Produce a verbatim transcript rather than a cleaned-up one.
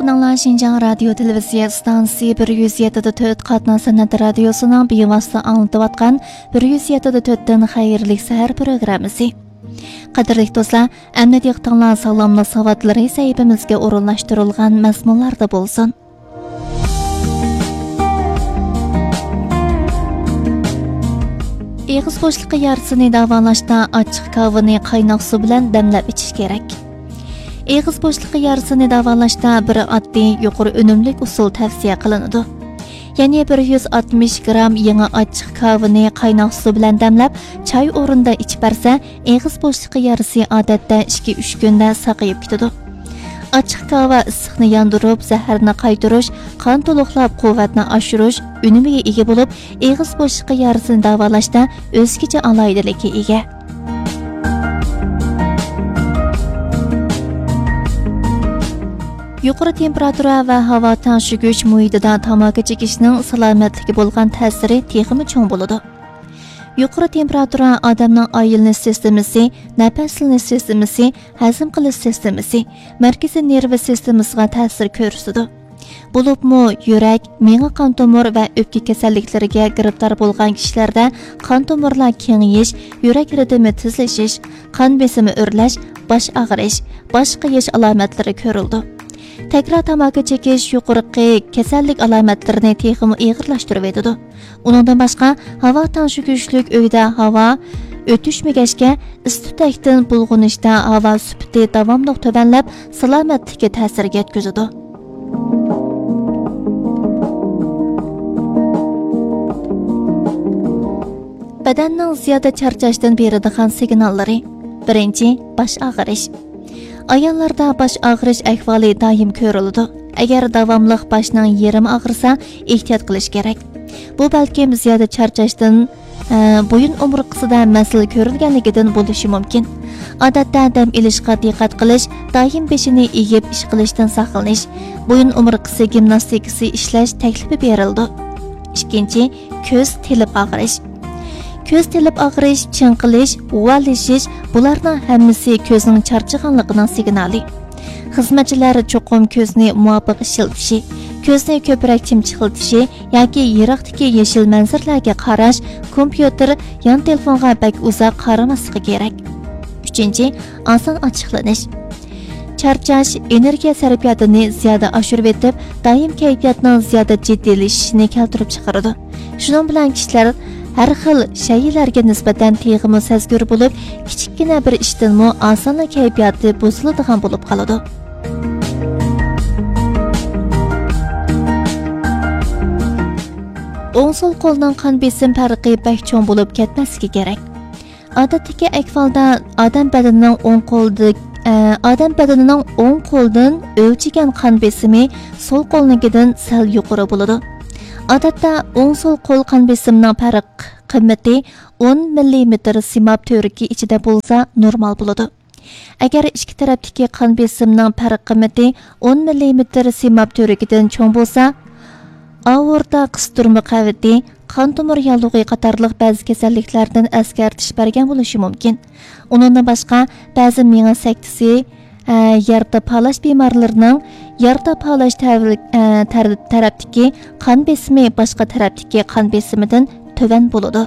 ئاڭلىغىنىڭلار شىنجاڭ رادىيو تېلېۋىزىيە ئىستانسىسى بىر يۈز يەتتە دە تۆت قاتناش سەنئەت رادىيوسىنىڭ بىۋاسىتە ئاڭلىتىۋاتقان بىر يۈز يەتتە دە تۆتتىن خەيرلىك سەھەر پروگراممىسى. قەدىرلىك دوستلار، ئەمدى دىققىتىڭلار ساغلاملىق ساۋاتلىرى سەھىپىمىزگە ئورۇنلاشتۇرۇلغان مەزمۇنلاردا بولسۇن. ئېغىز بوشلۇقى يارىسىنى داۋالاشتا ئاچچىق كاۋىنى قايناق سۇ بىلەن دەملەپ ئىچىش كېرەك. ئېغىز بوشلۇقى يارىسىنى داۋالاشتا بىر ئاددىي، يۇقىرى ئۈنۈملۈك ئۇسۇل تەۋسىيە قىلىنىدۇ. يەنى بىر يۈز ئاتمىش گرام يېڭى ئاچچىق كاۋىنى قايناق سۇ بىلەن دەملەپ، چاي ئورنىدا ئىچىپ بەرسە، ئېغىز بوشلۇقى يارىسى ئادەتتە ئىككى ئۈچ كۈندە ساقىيىپ كېتىدۇ. ئاچچىق كاۋا ئىسسىقنى ياندۇرۇپ، زەھەرنى قايتۇرۇش، قان تولۇقلاپ قۇۋۋەتنى ئاشۇرۇش ئۈنۈمىگە ئىگە بولۇپ، ئېغىز بوشلۇقى يارىسىنى داۋالاشتا ئۆزگىچە ئالاھىدىلىككە ئىگە. يۇقىرى تېمپېراتۇرا ۋە ھاۋا تەڭشىگۈچ مۇھىتىدا تاماكا چېكىشنىڭ سالامەتلىككە بولغان تەسىرى تېخىمۇ چوڭ بولىدۇ. يۇقىرى تېمپېراتۇرا ئادەمنىڭ ئايلىنىش سىستېمىسى، نەپەسلىنىش سىستېمىسى، ھەزىم قىلىش سىستېمىسى، مەركىزىي نېرۋا سىستېمىسىغا تەسىر كۆرسىتىدۇ. بولۇپمۇ يۈرەك، مېڭە قان تومۇر ۋە ئۆپكە كېسەللىكلىرىگە گىرىپتار بولغان كىشىلەردە قان تومۇرلار كېڭىيىش، يۈرەك رىتىمى تېزلىشىش، قان بېسىمى ئۆرلەش، باش ئاغرىش، باش قېيىش ئالامەتلىرى كۆرۈلىدۇ. تەكرار تاماكا چېكىش يۇقىرىقى كېسەللىك ئالامەتلىرىنى تېخىمۇ ئېغىرلاشتۇرۇۋېتىدۇ. ئۇنىڭدىن باشقا، ھاۋا تەڭشىگۈچلۈك ئۆيدە ھاۋا ئۆتۈشمىگەچكە، ئىسسىتۇتەكتىن بۇلغىنىشتا ھاۋا سۈپىتى داۋاملىق تۆۋەنلەپ، سالامەتلىككە تەسىر يەتكۈزىدۇ. بەدەننىڭ زىيادە چارچاشتىن بېرىدىغان سىگناللىرى. بىرىنچى، باش ئاغرىش. ئاياللاردا باش ئاغرىش ئەھۋالى دائىم كۆرۈلىدۇ. ئەگەر داۋاملىق باشنىڭ يېرىمى ئاغرىسا، ئېھتىيات قىلىش كېرەك. بۇ بەلكىم زىيادە چارچاشتىن، ئە، بويۇن ئومۇرتقىسىدا مەسىلە كۆرۈلگەنلىكىدىن بولۇشى مۇمكىن. ئادەتتە دەم ئېلىشقا دىققەت قىلىش، دائىم بېشىنى ئېگىپ ئىش قىلىشتىن ساقلىنىش، بويۇن ئومۇرتقىسى گىمناستىكىسى ئىشلەش تەكلىپى بېرىلىدۇ. ئىككىنچى، كۆز تېلىپ ئاغرىش. كۆز تېلىپ ئاغرىش، چىڭقىلىش، غۇۋالىشىش، بۇلارنىڭ ھەممىسى كۆزنىڭ چارچىغانلىقىنىڭ سىگنالى. خىزمەتچىلەر چوقۇم كۆزنى مۇۋاپىق ئىشلىتىشى، كۆزنى كۆپرەك چىمچىقلىتىشى ياكى يىراقتىكى يېشىل مەنزىرىلەرگە قاراش، كومپيۇتېر، يان تېلېفونغا بەك ئۇزاق قارىماسلىقى كېرەك. ئۈچىنچى، ئاسان ئاچچىقلىنىش. چارچاش ئېنېرگىيە سەرپىياتىنى زىيادە ئاشۇرۇۋېتىپ، دائىم كەيپىياتنىڭ زىيادە جىددىيلىشىشىنى كەلتۈرۈپ چىقىرىدۇ. شۇنىڭ بىلەن كىشىلەر ھەر خىل شەيئىلەرگە نىسبەتەن تېخىمۇ سەزگۈر بولۇپ، كىچىككىنە بىر ئىشتىنمۇ ئاسانلا كەيپىياتى بۇزۇلىدىغان بولۇپ قالىدۇ. ئوڭ سول قولنىڭ قان بېسىم پەرقى بەك چوڭ بولۇپ كەتمەسلىكى كېرەك. ئادەتتىكى ئەھۋالدا ئادەم بەدىنىنىڭ ئوڭ قولدا-، ئە، ئادەم بەدىنىنىڭ ئوڭ قولدىن ئۆلچىگەن قان بېسىمى سول قولنىڭكىدىن سەل يۇقىرى بولىدۇ. ئادەتتە ئوڭ سول قول قان بېسىمىنىڭ پەرق قىممىتى ئون مىللىمېتىر سىماب تۈۋرۈكى ئىچىدە بولسا نورمال بولىدۇ. ئەگەر ئىككى تەرەپتىكى قان بېسىمنىڭ پەرق قىممىتى ئون مىللىمېتىر سىماب تۈۋرۈكىدىن چوڭ بولسا، ئاورتا قىستۇرما قەۋىتى، قان تومۇر ياللۇغى قاتارلىق بەزى كېسەللىكلەردىن ئەسكەرتىش بەرگەن بولۇشى مۇمكىن. ئۇنىڭدىن باشقا، بەزى مېڭە سەكتىسى، ئە، يارا پالاش بىمارلىرىنىڭ يارا پالاش تەۋ-، ئە، تەر-، تەرەپتىكى قان بېسىمى باشقا تەرەپتىكى قان بېسىمىدىن تۆۋەن بولىدۇ.